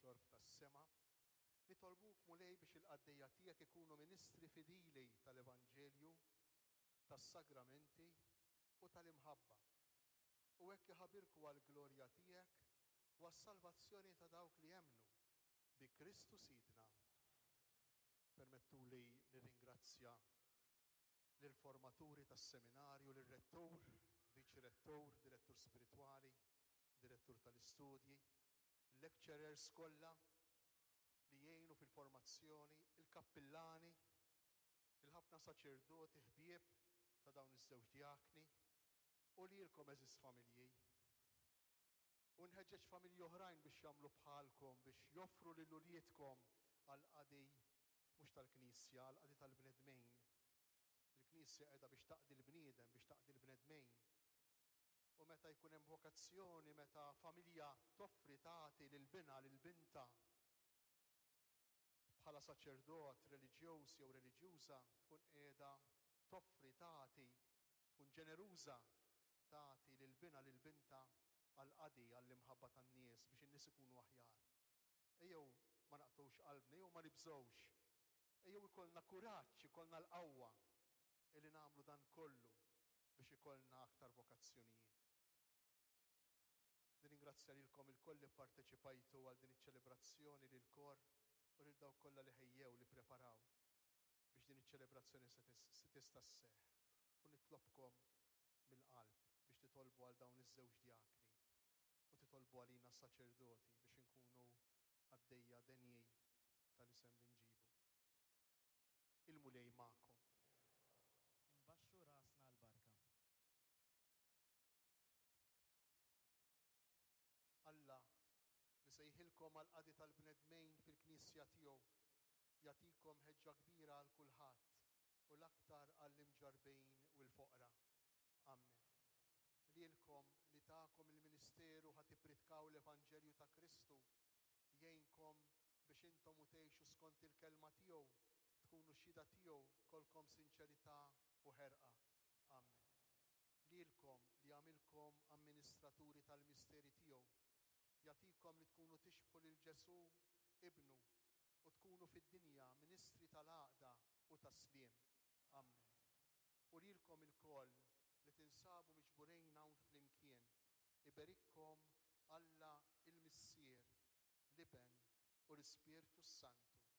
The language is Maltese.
tax-xorb tas-sema. Nitolbuk, Mulej, biex il-qaddejja tiegħek ikunu ministri fidili tal-Evanġelju, tas-sagramenti u tal-imħabba, u hekk iħabirku għall-glorja tiegħek u għas-salvazzjoni ta' dawk li jemmnu, bi Kristu Sidna. Permettuli nirringrazzja lill-formaturi tas-seminarju, lir-rettur, viċi rettur, direttur spiritwali, direttur tal-istudji, il-lecturers kollha li jgħinu fil-formazzjoni, il-kappillani, il-ħafna saċerdoti ħbieb ta' dawn iż-żewġ djakni, u lilkom għeżież familji. U nħeġġeġ familji oħrajn biex jagħmlu bħalkom, biex joffru lil uliedkom għall-qadi mhux tal-Knisja, għall-qadi tal-bnedmin. Il-Knisja qiegħda biex taqdi l-bniedem, biex taqdi l-bnedmin. U meta jkun hemm vokazzjoni, meta familja toffri tagħti lil binha, lil bintha, bħala saċerdot reliġjuż jew reliġjuża tkun qiegħda toffri, tagħti, tkun ġeneruża, tagħti lil binha, lil bintha għall-qadi, għall-imħabba tan-nies biex in-nies ikunu aħjar. Ejjew ma naqtgħux qalbna, ejjew ma nibżgħux, ejjew ikollna kuraġġ, ikollna l-qawwa illi nagħmlu dan kollu biex ikollna aktar vokazzjonijiet. Nirringrazzja lilkom ilkoll li pparteċipajtu għal din iċ-ċelebrazzjoni, lill-kor u lil dawk kollha li ħejjew, li ppreparaw biex din iċ-ċelebrazzjoni se tista' sseħħ. U nitlobkom mill-qalb biex titolbu għal dawn iż-żewġ djakni u titolbu għalina s-saċerdoti biex inkunu qaddejja denji tal-isem li nġibu. Il-Mulej magħkom. Inbaxxu rasna għall-barka. Alla, li sejħilkom għall-qadi tal-bnedmejn fil-Knisja tiegħu, jagħtikom ħeġġa kbira għal kulħadd u l-aktar għall-imġarrbin u l-foqra. Ammen. Lilkom li takom il-ministeru ħa tippritkaw l-Evanġelju ta' Kristu, jgħinkom biex intom u tgħixu skont il-kelma tiegħu, tkunu xhieda tiegħu kollkom sinċerità u ħerqa. Ammen. Lilkom li għamilkom amministraturi tal-misteri tiegħu, jagħtikom li tkunu tixbħu lil Ġesù, Ibnu, u tkunu fid-dinja ministri tal-għaqda u tas-sliem. Ammen. U lilkom ilkoll li tinsabu miġburin hawn flimkien, iberikkom Alla il-Missier, l-Iben u l-Ispirtu s-Santu.